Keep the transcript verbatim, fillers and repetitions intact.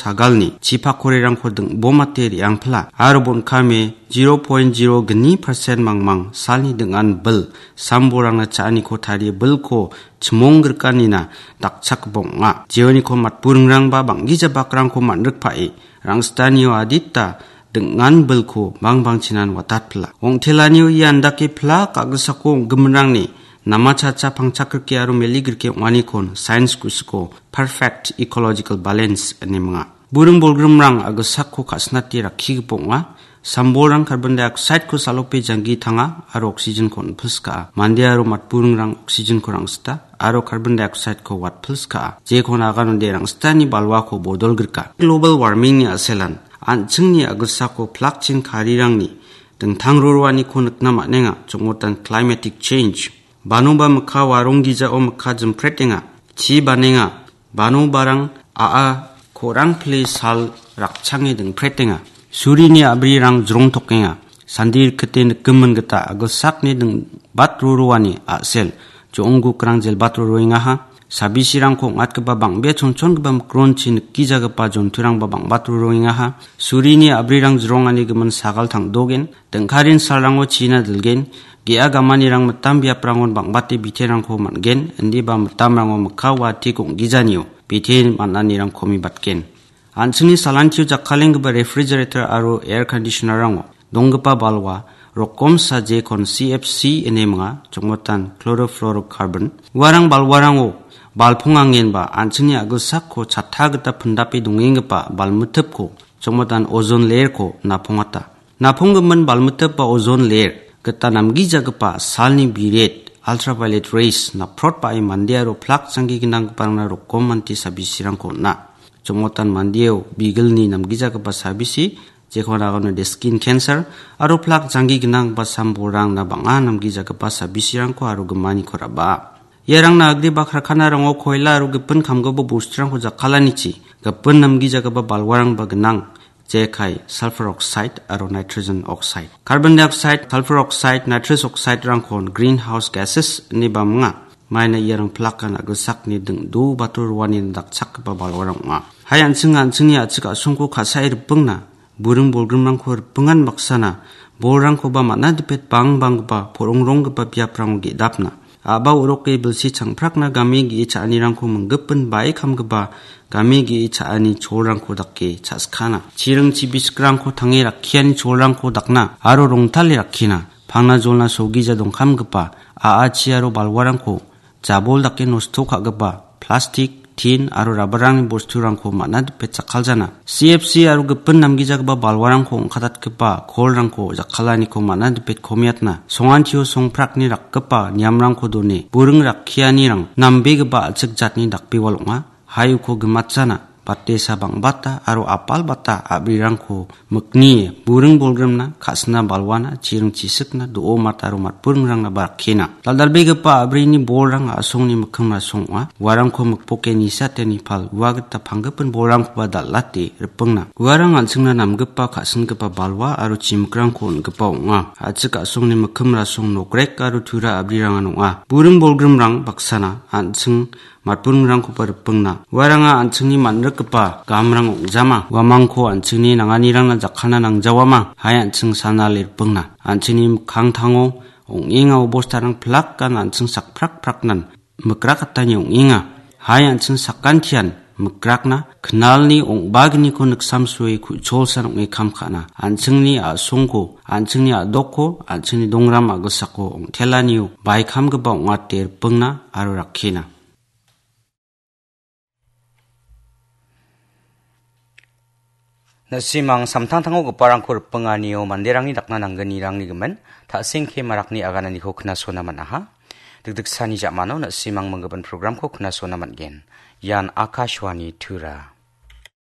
sagalni chipakorerangko ding·bomate re·angpila aro bon·kame zero point zero gni percent mangmang salni ding·an bil sambolrangna cha·aniko tarie bilko chimongrikanina dakchakgipa ong·a. Jeoniko matburingrangba bang·gija bakrangko man·rikpae rangsitanio adita ding·an bilko bangbangchinan watatpila. Ong·telanio ia andake plak a·gisako ong·giminrangni namachacha pangchakrike aro meligrike ong·anikon sains kusiko perfect ecological balance ine minga. Buring bolgrimrang a·gisako ka·sinate rakkigipa ong·a. Sambolrang carbon dioxide-ko salope janggi tanga aro oxygen-ko on·pilskaha. Mande aro matburingrang oxygen-ko rangsita aro carbon dioxide-ko watpilskaha. Jekon aganode rangsitani balwako bodolgrika. Global warming-ni a·selan an·chingni a·gisako plakchin karirangni dingtang roroaniko nikna man·enga, chongmotan climatic change. Banoba mikka warong gijao mikka jimpretenga, chi banenga, banobarang a·a korang pile sal rakchange dingpretenga. Surini a·brirang jrongtokenga. Sandi rikite nikgimin gita a·gilsakni ding-, bat roroani a·sel, jo·onggukrang jelbat roroengaha. Sabisirangko ong·atgipa bang·bea chonchongipa mikronchi nikgijagipa jonturangba bang·bat roroengaha. Surini a·brirang jrongani gimin sagal tangdogen. Dingkarin salrango china dilgen. Ge·a gamanirang mitam biaprangon bang·bate biterangko man·gen. Indiba mitamrango mikka watik ong·gijanio bite man·anirang komibatgen. An·chingni salantio jakkalenggipa refrigerator aro air conditioner-rango donggipa balwa rokomsa jekon C F C ine minga, chongmotan chlorofluorocarbon. Uarang balwarango balpongangenba an·chingni a·gilsakko chatta gita pindape dongenggipa balmitipko, chongmotan ozone layer-ko napongata. Naponggimin balmitip ba ozone layer gita namgijagipa salni biret, ultraviolet rays, naprotbae mande aro plak janggi gnanggiparangna rokomante sabisirangko on·a. Chongmotan mandeo bigilni namgijagipa sabisi, jekon aganode skin cancer, aro plak janggi gnanggipa sambolrangna bang·a namgijagipa sabisirangko aro gimaniko raba. Iarangna agreba karkanarango koila aro gipin kamgipa bosturangko jakkalanichi, gipin namgijagipa balwarangba gnang, jekai sulfur oxide aro nitrogen oxide. Carbon dioxide, sulfur oxide, nitrous oxide-rangkon greenhouse gases ineba minga. Maina iarang plakan a·gilsakni ding·do bator roani dakchakgipa balwarang ong·a. Hai an·ching an·chingni a·chik a·songko ka·sae ripingna, buring bolgrimrangko ripingan baksana, bolrangkoba man·a dipet bangbanggipa, porongronggipa biaprango ge·dapna. A·ba oroke bilsi changprakna game ge·e cha·anirangko minggipin bae kamgipa game ge·e cha·ani cholrangko dake cha·skana. Chiring chibisikrangko tange rakkiani cholrangko dakna aro rongtale rakkina. Pangna jolna sogija dongkamgipa a·achi aro balwarangko jabol dake nosto ka·gipa plastik, tin aro rabarangni bosturangko man·a dipet jakkaljana. C F C aro gipin namgijagipa balwarangko ong·katatgipa kolrangko jakkalaniko man·a dipet komiatna. Songantio songprakni rakgipa niamrangko done, buring rakkianirang nambegipa a·chik jatni dakbewal ong·a. Hai uko gimatjana, batesa bang·bata aro apalbata a·brirangko miknie, buring bolgrimna, ka·sina balwana, chiring chisikna, do·o mat aro matburingrangna ba rakkena. Dal·dalbegipa a·brini bolrang a·songni mikkim rasong ong·a. Uarangko mikpoke nisateni pal ua gita panggipin bolrangkoba dal·ate ripingna. Uarang an·chingna namgipa ka·singipa balwa aro chimikrangko on·gipa ong·a. A·chik a·songni mikkim rasong nokrek aro tura a·brirangan ong·a. Buring bolgrimrang baksana an·ching matburingrangkoba ripingna. Uaranga an·chingni man·rikgipa gamrang ong·jama. Uamangko an·chingni nanganirangna jakkalna nangjawama. Hai an·ching sanale ripingna. An·chingni mikkangtango ong·enga obostarang plakan an·ching sakprak praknan mikrakatani ong·enga. Hai an·ching sakantian mikrakna knalni ong·bagniko niksamsoe ku·cholsan ong·e kam ka·na. An·chingni a·songko, an·chingni a·dokko, an·chingni dongram a·gisako ong·telanio baikamgipa ong·ate ripingna aro rakkena. Na·simang samtangtango giparangko ripinganio manderangni dakna nanggnirangni gimin, ta·sengke marakni agananiko knasona man·aha. Dikdiksani ja·mano na·simang minggipa programko knasona man·gen. Ian Akashvani Tura.